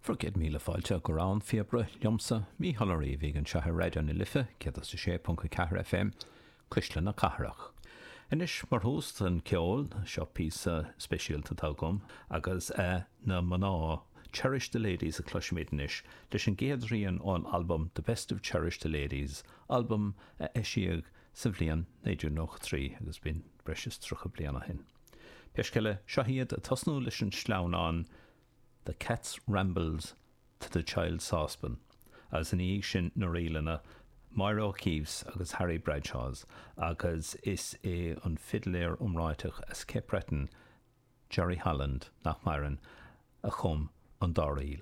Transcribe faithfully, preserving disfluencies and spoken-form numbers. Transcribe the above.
Bhur gcéad míle fáilte go Rogha an Phíobaire liomsa Mícheál Ó Riabhaigh anseo ar Raidió na Life céad a sé ponc a ceathair FM Cuisle na Cathrach. Anois mar thús an ceol seo píosa speisialta atá agam agus uh, na mná Cherish the Ladies a chloisfimid anois leis an gcéad rian ón album The Best of Cherish the Ladies, album a eisíodh sa bhliain naoi déag nócha trí agus b'in breis is tríocha bliain ó shin. Pé scéal é seo iad ag tosnú leis an sleamhnán The Cat's Rambles to the Child Saucepan, agus ina dhiaidh sin na ríleanna Máire O'Keeffe agus Harry Bradshaw's agus is é an fidléir iomráiteach as Cape Breton, Jerry Holland nach maireann a chum an dá ríl.